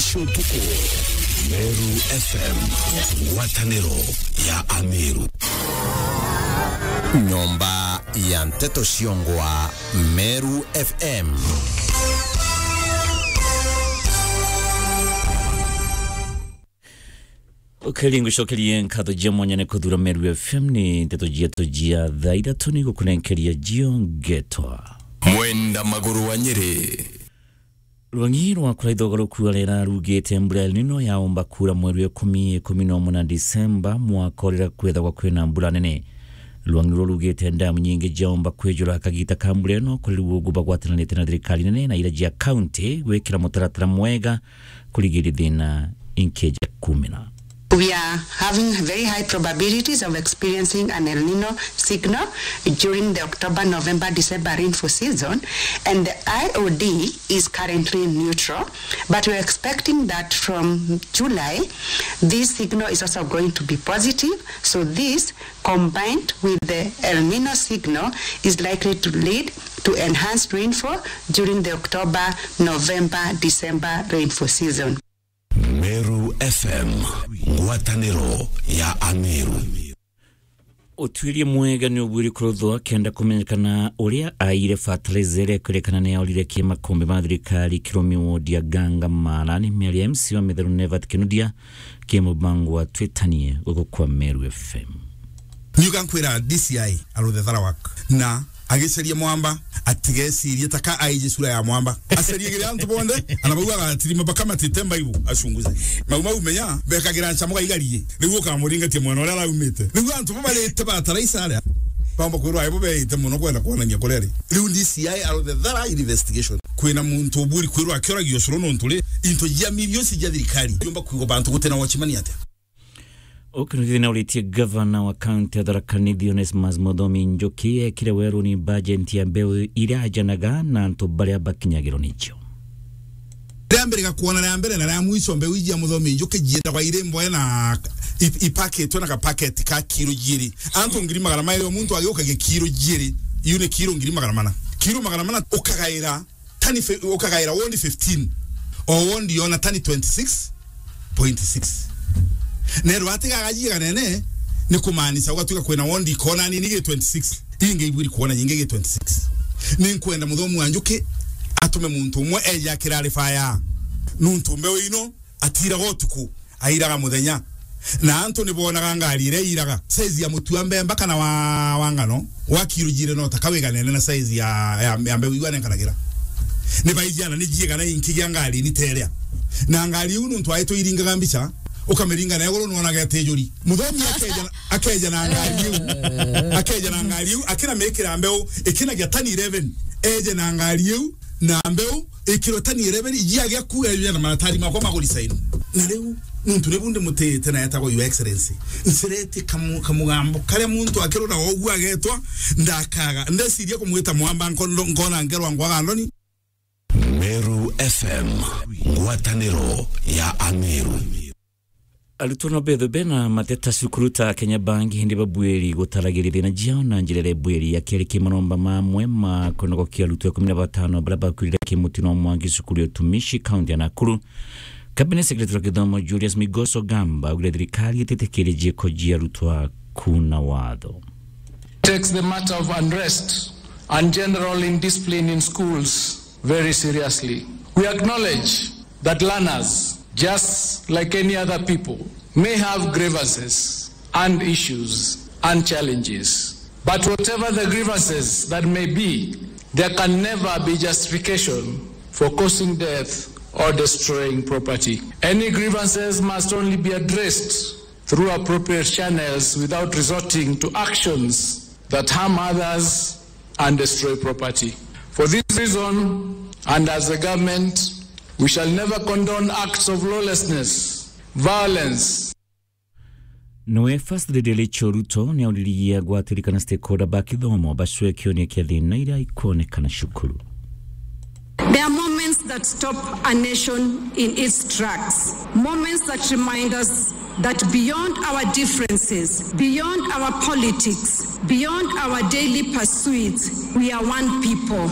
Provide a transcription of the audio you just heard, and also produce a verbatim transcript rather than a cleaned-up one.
Cia utuku, Meru F M, ngwataniro ya Ameru. Nyomba ya nteto ciongwa, Meru F M. Ukeri ngucokerie nkatho cia mwanya ni kuthura Meru F M, ni nteto cietu cia thaa ithatu ni gukunenkeria cio ngetwa Mwenda Maguru wa Nyeri. Rwang'i rwa kuraitha ugaruku wa riera rugite mbura El Nino yaumba kuura mweri wa ikumi, ikumi na umwe na Disemba mwaka uria kwithagwa kwina mbura nene. Rwang'i ruu rugite ndamu nyingi ciaumba kwijura kagita ka mbura ino, kuri riu ugu bagwatanirite na thirikari nene na iria cia kaunti gwikira mutaratara mwega kurigiria thina inkeja kumina. We are having very high probabilities of experiencing an El Nino signal during the October, November, December rainfall season, and the I O D is currently neutral, but we're expecting that from July, this signal is also going to be positive. So this, combined with the El Nino signal, is likely to lead to enhanced rainfall during the October, November, December rainfall season. Meru F M, ngwataniro ya Ameru. Utuiria mwega ni ubuiri kuruthwa kenda kumenyekana uria aire fertilizer iria ikwirikana ni yaurire ki makombe ma thirikari Kiromi ward ya Ganga Mara. Ni miario ya M C wa Mitheru Nevat Kinuthia ki mubango wa Twitanie guku kwa Meru F M. Niuga nkwira D C I aruthe thara waku na agicaria mwamba, atigecirie ta ka aiji sura ya mwamba. Acarie gire antu bonthe, ana bau agatirima bakamatite mbaibu, acunguze. Mau mau menya, bekagira nchamo gaigarie. Riu ukamuringatia mwena uria araumite. Riu antu bo barite bataraisa aria, bamba kwirwa aibo beite muno kwenda kwonania kuria ari. Riu D C I aruthe thara investigation. Kwina muntu uburi kwirwa akioragio curu nontu ri, into jia milioni cia thirikari. Yumba kuigwa bantu gutina watchman atia? Ukinuthithia na uritie gavana wa kaunti ya Tharaka Nithi Onesmus Muthomi Njuki ekire weruni bajeti ya mbeu iria ajanaga na antu baria bakinyagirwo nicio. Ria mbere gakuona ria mbere na ria mwico mbeu iji ya Muthomi Njuki jiendagwa iri mboe na i-, ipaketwe na gapaketi ka kiro jiiri. Antu ngiri magana mairi o muntu agiukagia kiro jiiri. Iu ni kiro ngiri magana mana. Kiro magana mana ukagaira tani fi-, ukagaira wondi fifteen. O wondi yona tani twenty six point six. Nerwa atigaga jiganene, ni kumaanisha ugatwika kwina wondi ikona nini gi twenty six. Ingi ibwiri kuona nyingi gi twenty six. Ni nkwenda Muthomi wa Njuki atume muntu umwe eje akirarifaya. Nuntu mbeu ino atiraga utuku, airaga muthenya. Na antu ni bonaga ngari iria iraga. Size ya mutu wa mbemba kana wa, wa ngano, wa kiro jire no ta kawiganene na size ya, ya, ya mbeu iu anenkanagira. Ni baijiana ni jiigana inki gia ngari ni teria. Na ngari iu nuntu aitwe iringaga mbica, ukamiringa na iguru nuonaga itijuri. Muthomi akeja, akeja na ngari iu. Akeja na ngari iu, akina mikira mbeu, ikinagia tani eleven. Eje na ngari iu, na mbeu, ikiro tani eleven, ijiagia ku eja na maratari makwa maguri saini. Na riu, nuntu nibu ndimutite na etagwa Your Excellency, ncireti kamu-, kamugambo karia muntu akirora ogu agetwa, ndakaga. Ndeciria kumwita mwamba nko-, nkona ngerwa ngwaga ndoni. Meru F M, ngwataniro ya Ameru. Arutwo no bethwe bena mateta cukuru ta Kenya Bank, indi babwiri gutaragiria thina jiao na njira iria ibwiri ya keri ki maromba mamwe ma kunogokia arutwo ikumi na batano baria bakwirire ki mutino wa mwangi cukuru ya utumishi, kaunti ya Nakuru. Cabinet Secretary wa githomo Julius Migoso Gamba augire thirikari ititikirie jiiko jia arutwo kuna watho. Takes the matter of unrest and general indiscipline in schools very seriously. We acknowledge that learners, just like any other people, may have grievances and issues and challenges. But whatever the grievances that may be, there can never be justification for causing death or destroying property. Any grievances must only be addressed through appropriate channels without resorting to actions that harm others and destroy property. For this reason, and as a government, we shall never condone acts of lawlessness, violence. Niwe First Lady Rachel Ruto niauriririe agwatiri kana stakeholder ba kithomo bacwe kionia kia thina iria ikwonekana cukuru. There are moments that stop a nation in its tracks, moments that remind us that beyond our differences, beyond our politics, beyond our daily pursuits, we are one people.